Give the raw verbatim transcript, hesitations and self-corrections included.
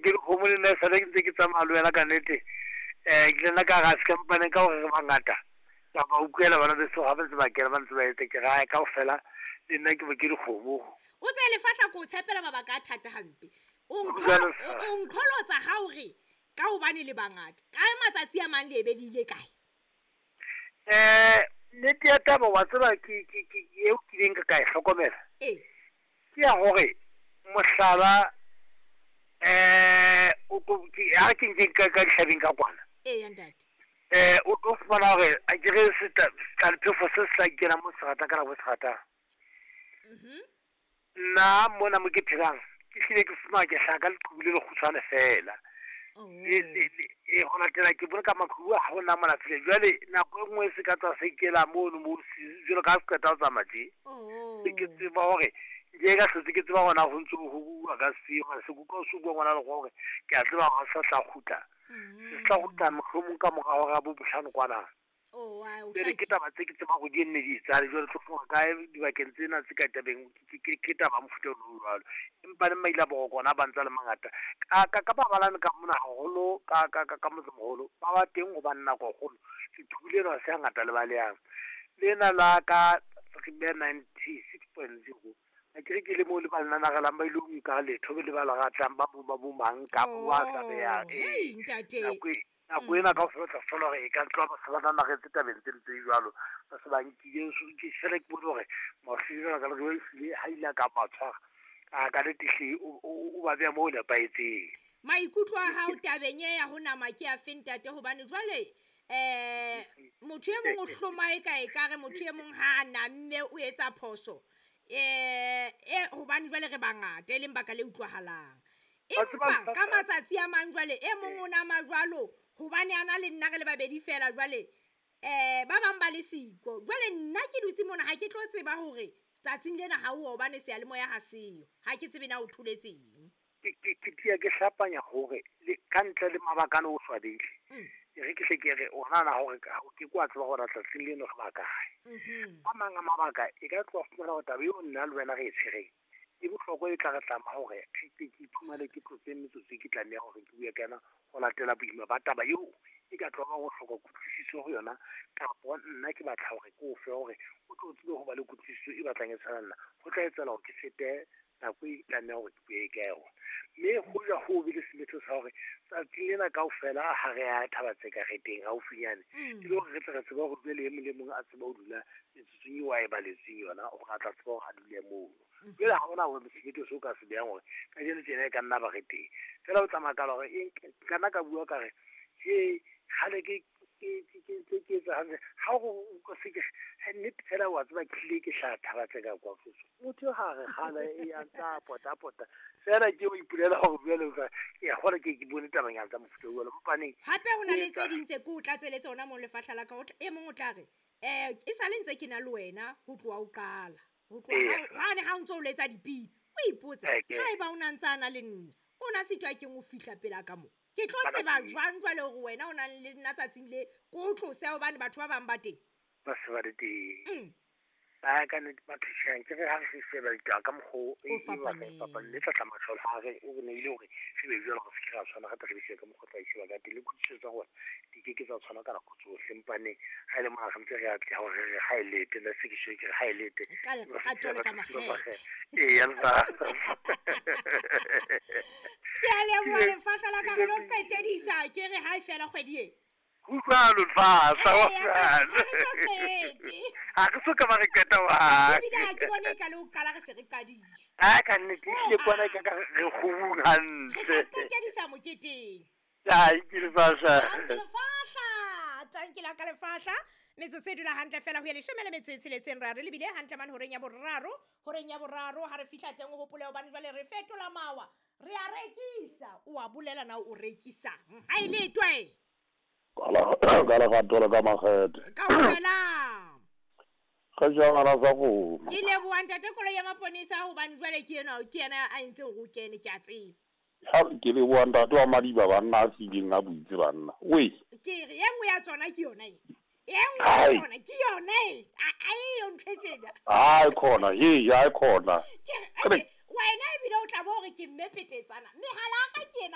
ke dikgomo le nna e sale ke ntse ke tsamaya le wena ka nnete. Um ke nna ka ga se kampaneng ka gore re bangata. Ka ba utlwela bana beso ga ba ntse ba kena ba ntse ba etse ke gae kaofela le nna ke bo ke dikgomo. O tseye lefahla ko o tshepela mabaka a thata hampe. O Jwalo nkgolo- o nkgolotsa ga o re ka hobane le bangata. Ka matsatsi a mang le ebe le ile kae? Um nnete ya taba wa tseba ke ke ke eo kileng ka ka e hlokomela. Ee. Ke ya hore mohlala eh o tlo ke ha ke nke ka ka dihlabeng ka kwana. Ee ya ntate. Eh o tlo fumana hore a ke re setlalphefo se se tla kena mo se ratang ka nako e se ratang. Mhm. Nna mona mo ke phelang ke hlile ke fumana ke hlaha ka leqhubu le lekgutshwane fela. Oh. Le le le e ho latela ke bone ka maqhubu a ha hona mona file. Jwale nako e nngwe se ka tswa se ikela mono mo se jwalo ka ha se qeta ho tsamaya tje. Oh. Se ke tseba hore ke ka hlotse ke tseba hona ho ntso ho bua ka se hore se kutlwa o se bua ngwana le hore ke a tseba hore ha se tla kgutla. Se tla kgutla mohlomong ka mora hora ya bo bohlano kwana. Oh, wa o Jwale ke taba tse ke tsebang hore di nne di etsahale jwale tlo fumana kae dibakeng tsena tse ka tabeng ke ke ke taba ya mofuta ono o jwalo. Empa le maile a boroko ona ba ntse a le mangata. Ka ka ka mabalane ka mona haholo ka ka ka ka motsemoholo ba ba teng hobane nako e kgolo leqhubu lena ha se hangata le balehang. Lena la ka re beha ninety-six point zero. Akere ke le moo le ba le nanarelang ba ilo nka letho be le ba le ratang ba bo ba bo mang kapa wa Oh, tsabehang. hei, Ee, ntate. nako e nako ena kaofela o tla thola hore e ka tloha ba se ba nanaretse tabeng tse ntse jwalo. Ba se ba nkile ke fela ke bone hore mafelo ka le ehlile ha ile a ka ba tshwara. A ka nnete hle o o ba beha moo nepahetseng. Maikutlo a hao tabeng e ya ho nama ke a fe ntate hobane jwale eh motho e mong o hloma e ka ekare motho e mong ha a namme o etsa phoso. Eh e hobane jwale re bangata e leng baka le utlwahalang. Wa tseba Empa ka Lefahla- matsatsi a mang jwale e mong o nama jwalo hobane a na le nna re le babedi fela jwale eh ba bang ba le siko. Jwale nna ke dutse mona ha ke tlo tseba hore tsatsing lena ha o hobane seyalemoya ha seyo. Ha ke tsebe na o tholetseng. Ke ke ke tia ke hlapanya hore le ka ntle le mabaka ano o swabile. Mm. E re ke hle ke re o nahana hore ka ke kwa tseba hore tsatsing leno re ba kae. Mhm. A mang a mabaka e ka tloha fumana hore taba eo nna le wena re e tshwereng e bohlokwa e tla re tlama hore ke ke ke iphumane ke tlotse metsotso e ke tlameha hore ke bue ka yona ho latela boima ba taba eo e ka tloha ho hloka kutlwisiso ho yona kapa nna ke batla hore ke o fe hore o tlo tsebe ho ba le kutlwisiso e batlang e tshwana le nna. Ho tla etsahala hore ke fete nako e tlameha hore ke bue ka yona. Mme hoja ho be le semetho sa hore tsatsing lena kaofela ha re ya thaba tse ka re teng haufinyane. Mm. E le hore re tle re tsebe hore jwale e mong le mong a tsebe ho dula metsotsong eo a e baletsweng yona hore a tla tseba hore a dule mono. Mm. Jwale ha hona hore semetho seo ka se behang hore kajeno tjena e ka nna ba re teng. Feela o tsamaya ka la hore e ka nna ka bua ka re he kgale ke ke ke ke ke ke etsa hantle. Ha o utlwa se ke nnete fela wa tseba ke hlile ke hlaha thaba tse ka kwa foso. Motho ha re kgale e ya ntsa pota pota. Fela ke o ipolela hore jwale o ka ke a kgona ke ke bone tabanyana tsa mofuta o jwalo. Mpaneng Hape ho na o le tse etsa ding tse ke o tlatseletse hona moo lefahla la ka o tla e mong o tla re eh e sale ntse ke na le wena ho tloha o qala. Ho tloha Ee. ha hane ha o ntso o letsa dipina. O ipotsa Eh, ke- ha eba o na ntsa a na le nna o na sitwa keng ho fihla pela ka mo. Ke tlo Ba ka tseba teng. jwang jwale hore wena o nang le nna tsatsing le ke o tlose hobane batho ba bang ba teng. Ba se ba le teng. Mm. Ba ka nnete ba thusang ke re ha re sheba ditaba ka mokgwa o e O e batlang fapaneng. fapaneng. Le tla tla ha re o re neile hore re be jwalo re se ke ra tshwana re tle re shebe ka mokgwa o tla sheba ka teng. Le kutlwisiso tsa rona di ke ke tsa tshwana ka nako tsohle. Empaneng ha e le mona re ntse re atleha hore re re ha e lete nna se ke shebe ke re ha e lete. Ka lerato le ka makgethe. Ee, ya lefahla. Ke a leboha lefahla la ka re lo qetedisa ke re ha e fela kgwedi e. Ho jwalo lefahla, ho Ee, ha jwalo. re so qete. Ha re so ka ba re qeta hohang. Ebile ha ke bone e ka le ho qala re se re qadile. Ha ka nnete, ehlile kwana ke ka re kgubung Re hantle. tla qetedisa moketeng. Ai, ke lefahla. Tanki lefahla, tanki la ka lefahla. Metsotso e dula hantle fela ho ya leshome le metso e tsheletseng ra re lebile hantle mane horeng ya boraro. Horeng ya boraro ha re fihla teng o hopole hobane jwale re fetola mawa. Re a rekisa. O a bolela na o rekisang. Ha e letwe. Ka la- ka lerato le ka makgethe. Kaofela. Ge jangana sa kgomo. Ke leboha ntate koloi ya maponesa hobane jwale ke enwa ke yena a entseng hore o kene ke a tseba. Ha ke leboha ntate wa Madiba banna a fileng a buitse banna. Wei. Ke re e nngwe ya tsona ke yona e. E nngwe ya Hai. tsona ke yona e. A a eyo ntho e tjena. Hai khona, he, hai khona. Ke re, wena ebile o tla bo hore ke mme petetsana. Mehala ya ka ke ena